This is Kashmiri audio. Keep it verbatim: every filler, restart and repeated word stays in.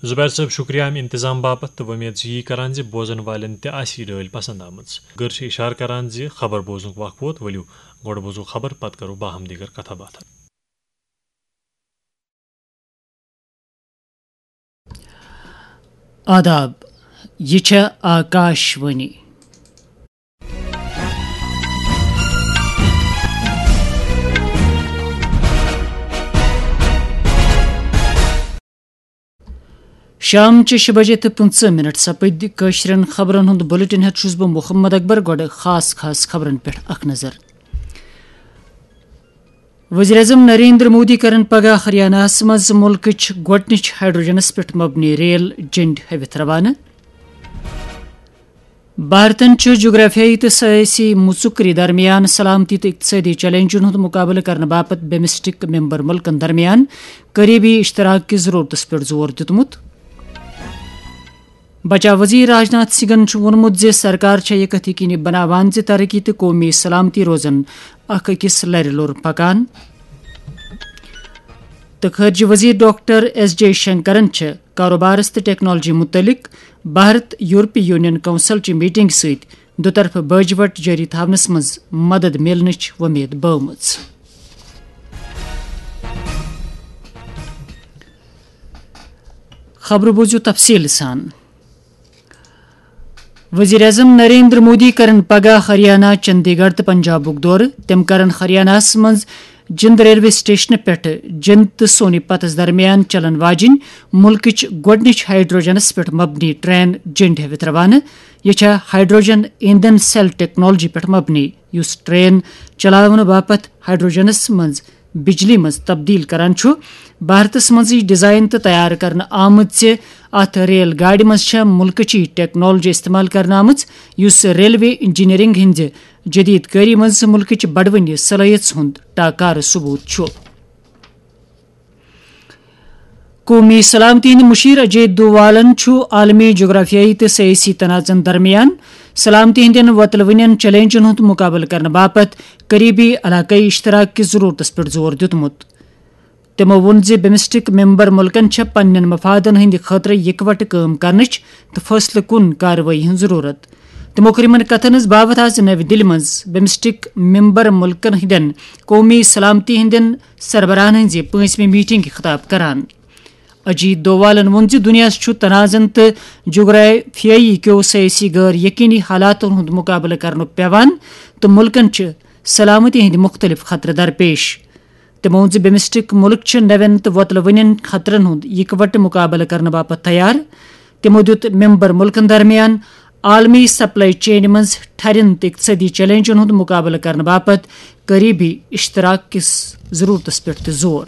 زبیر صٲب، شکریہ امہِ انتظام باپتھ تہٕ وۄمید چھِ یی کران زِ بوزن والٮ۪ن تہِ آسہِ یہِ ڈٲلۍ پسند آمٕژ۔ گٔر چھِ اشارٕ کران زِ خبر بوزنُک وقت ووت، ؤلِو گۄڈٕ بوزو خبر، پتہٕ کرو باہم دیگر کتھا باتھا۔ آداب، یہِ چھےٚ آکاش وانی۔ شام چہِ شےٚ بجے تہٕ پٕنٛژٕہ منٹ سپٕدۍ۔ کٲشرٮ۪ن خبرن ہُنٛد بلیٹن ہٮ۪تھ چھُس بہٕ محمد اکبر۔ گۄڈٕ خاص خاص خبرن پٮ۪ٹھ اکھ نظر۔ وزیر اعظم نریندر مودی کرن پگاہ ہریاناہس منٛز ملکٕچ گۄڈٕنِچ ہائیڈروجنس پٮ۪ٹھ مبنی ریل جنڈ ہٲوِتھ روانہٕ۔ بھارتن چھُ جغرافیائی تہٕ سیٲسی مُژُکرِ درمیان سلامتی تہٕ اقتصٲدی چیلنجن ہُنٛد مُقابلہٕ کرنہٕ باپتھ بمسٹک ممبر مُلکن درمیان قریبی اشتراک کِس ضرورتس پٮ۪ٹھ زور دیُتمُت۔ بچاو وزیر راجناتھ سنگھن چھُ ووٚنمُت زِ سرکار چھےٚ یہِ کتھ یقینی بناوان زِ ترقی تہٕ قومی سلامتی روزن اکھ أکِس لرِ لوٚر پکان۔ تہٕ خارجہ وزیر ڈاکٹر ایس جے شنکرن چھِ کاروبارس تہٕ ٹیکنالوجی متعلق بھارت یورپی یونین کونسل چہِ میٹنگ سۭتۍ دُطرفہٕ باجہِ وٹ جٲری تھاونس منٛز مدد میلنٕچ وۄمید بٲومٕژ۔ خبرٕ بوٗزِو تفصیٖل سان۔ وزیر اعظم نریندر مودی کرن پگاہ ہریانہ، چندی گڑھ تہٕ پنجابُک دورٕ۔ تِم کرن ہریانہس منٛز جند ریلوے سٹیشنہٕ پٮ۪ٹھٕ جند تہٕ سونی پتس درمیان چلن واجِنۍ مُلکٕچ گۄڈٕنِچ ہائیڈروجنس پٮ۪ٹھ مبنی ٹرین جنڈ ہٲوِتھ روانہٕ۔ یہِ چھےٚ ہائیڈروجن ایندھن سیل ٹیکنالوجی پٮ۪ٹھ مبنی، یُس ٹرین چلاونہٕ باپتھ ہائیڈروجنس منٛز بجلی منٛز تبدیل کران چھُ۔ بھارتس منٛزٕے ڈیزائن تہٕ تیار کرنہٕ آمٕژ اتھ ریل گاڑِ منٛز چھےٚ مُلکٕچی ٹیکنالوجی استعمال کرنہٕ آمٕژ، یُس ریلوے انجینئرنگ ہٕنٛزِ جدید کٲری منٛز مُلکٕچ بڑوٕنہِ صلٲحیژ ہُنٛد ٹاکارٕ ثبوت چھُ۔ قومی سلامتی ہٕنٛدۍ مشیر اجے دووالن چھُ عالمی جغرافیائی تہٕ سیٲسی تنازعن درمیان سلامتی ہٕنٛدٮ۪ن وۄتلوٕنٮ۪ن چیلنجن ہُنٛد مُقابلہٕ کرنہٕ باپتھ قریبی علاقٲیی اشتراک کِس ضرورتس پٮ۪ٹھ زور دیُتمُت۔ تِمو ووٚن زِ بمسٹک ممبر مُلکن چھےٚ پننٮ۪ن مفادن ہٕنٛدِ خٲطرٕ یکوٹہٕ کٲم کرنٕچ تہٕ فٲصلہٕ کُن کاروٲیی ہٕنٛز ضروٗرت۔ تِمو کٔر یِمن کتھن ہٕنٛز باوتھ آز نَوِ دِلہِ منٛز بمسٹک ممبر مُلکن ہٕنٛدٮ۪ن قومی سلامتی ہٕنٛدٮ۪ن سربراہن ہٕنٛزِ پٲنٛژمہِ میٹنگہِ خطاب کران۔ اجیت دووالن ووٚن زِ دُنیاہس چھُ تنازعن تہٕ جغرافیائی کیو سیٲسی غٲر یقینی حالاتن ہُنٛد مُقابلہٕ کرنُک پیوان تہٕ مُلکن چھِ سلامتی ہٕنٛدۍ مُختٔلِف خطرٕ درپیش۔ تِمو ووٚن زِ بمسٹک مُلک چھِ نوٮ۪ن تہٕ وۄتلوٕنٮ۪ن خطرن ہُنٛد یکوٹہٕ مُقابلہٕ کرنہٕ باپتھ تیار۔ تِمو دیُت ممبر مُلکن درمیان عالمی سپلائی چینہِ منٛز ٹھرٮ۪ن تہٕ اقتصٲدی چیلنجن ہُنٛد مُقابلہٕ کرنہٕ باپتھ قریبی اشتراک کِس ضرورتس پٮ۪ٹھ تہِ زور۔